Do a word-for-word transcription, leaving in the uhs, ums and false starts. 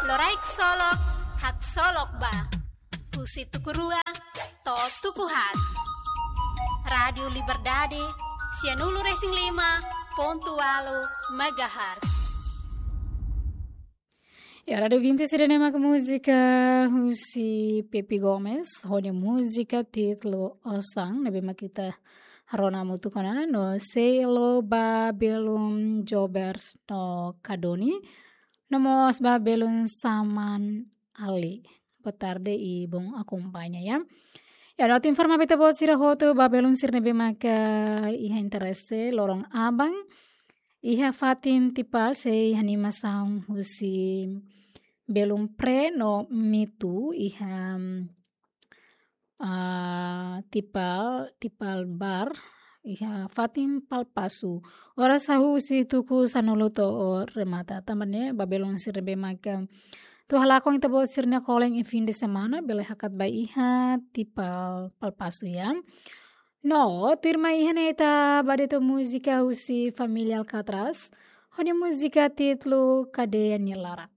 Loraik solok, haksolok ba. Husi tuku rua to'o tuku haat. Rádiu Liberdade, sianulu-resin-lima pontu ualu megahertz. Ya, rádiu vinte sira ne'e mak múzika husi Pepe Gomes, ho nia múzika títulu Osan, ne'ebé mak ita rona hamutuk ona, no sei halo ba belun Jobers no Kadoni, no mós ba belun Saman Ali. Boa tarde i bom akompaña, ya. Ya, no atu informa ba ita-boot sira hotu ba belun sira ne'ebé maka iha interese loron aban, iha fatin Tipal sei iha animasaun husi belun Pre no Mitu iha, ah, Tipal, Tipal Bar, iha fatin Palpasu. Oras hahú husi tuku sanulu to'o remata. Tanba ne'e, ba belun sira ne'ebé maka atu halakon ita-boot sira-nia kolen iha fim de semana, bele hakat ba iha Tipal Palpasu, ya. No, tuirmai iha ne'e ita ba de'it ho múzika husi Família Alcatraz, ho nia múzika títulu Kadeia nia Laran.